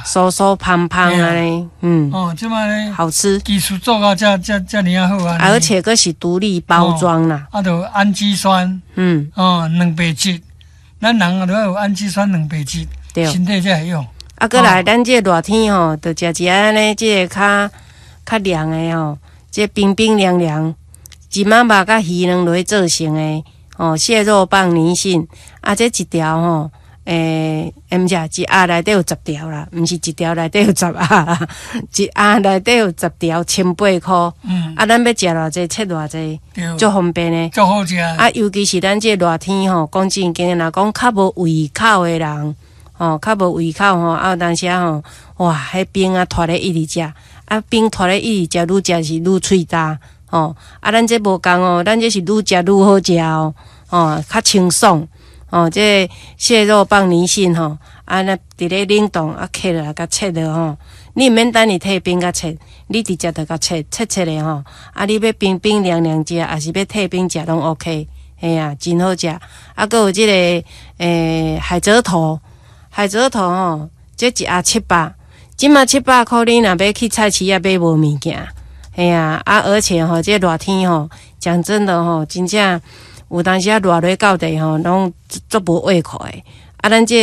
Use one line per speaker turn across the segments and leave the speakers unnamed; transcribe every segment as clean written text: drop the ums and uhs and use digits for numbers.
酥酥芳芳按呢，
哦，這擺咧
好吃，
技術做到遮遮遮爾仔好啊！
而且閣是獨立包裝啦，
啊，就氨基酸，哦，蛋白質，咱人啊都愛有氨基酸、蛋白質，身體才會用。
啊，閣來，咱這個熱天吼，就食一按呢，這個較較涼的吼，這個冰冰涼涼，一仔肉佮魚卵落做成的，吼，蟹肉棒泥蕈，啊，這一條吼，欸，毋是，一盒內底有十條啦，毋是一條內底有十盒啦，一盒內底有十條，千八箍。啊，咱欲食偌濟，切偌濟，足方便的。
足好食。
啊，尤其是咱這個熱天吼，講正經的，若講較無胃口的人，吼，較無胃口吼，啊，有當時吼，哇，彼冰啊，拖咧一直食，啊，冰拖咧一直食，愈食是愈喙焦，吼，啊，咱這無仝哦，咱這是愈食愈好食哦，吼，較清爽，吼，這個蟹肉棒泥蕈吼，啊，那佇咧冷凍啊，切落來共切落吼，你毋免等伊退冰共切，你直接就共切切切咧吼，啊，你欲冰冰涼涼食，抑是欲退冰食攏 OK，嘿啊，真好食。啊，閣有這個海蜇頭，海蜇頭吼，這一盒七百，這馬七百箍，你若欲去菜市仔買無物件，嘿啊，啊，而且吼，這熱天吼，講真的吼，真正有當時啊熱落到底吼，攏足無胃口的。啊，咱這個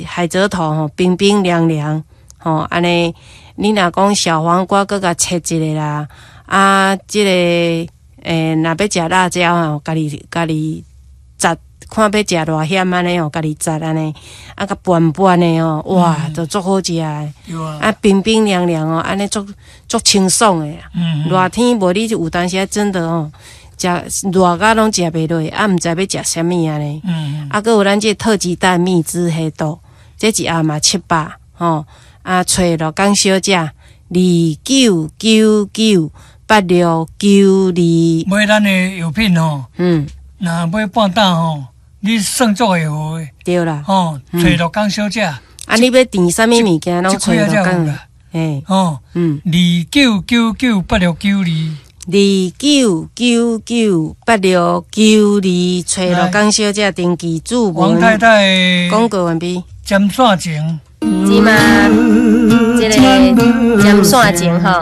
海蜇頭吼，冰冰涼涼，吼，按呢，你若講小黃瓜，閣共切一下啦，啊，這個若欲食辣椒吼，家己家己摘，看欲食偌鹹按呢吼，家己摘按呢，啊，共拌拌的吼，哇，就足好食的。啊，冰冰涼涼哦，按呢足足清爽的。熱天無你有當時真的吼，食熱甲攏食袂落，啊，毋知欲食啥物按呢。啊，閣有咱這個特級蛋蜜汁黑豆，這一盒嘛七百吼，啊，揣陸港小姐29998692。
買咱的藥品吼，若買半擔吼，你算足會好的。
對啦。
吼，揣陸港小姐。
啊，你欲訂啥物物件，攏揣陸港。
嘿。吼，29998692。
29998692，揣陸港小姐登記注文。
王太太。
廣告完畢。
針線情。
這馬，這個針線情吼。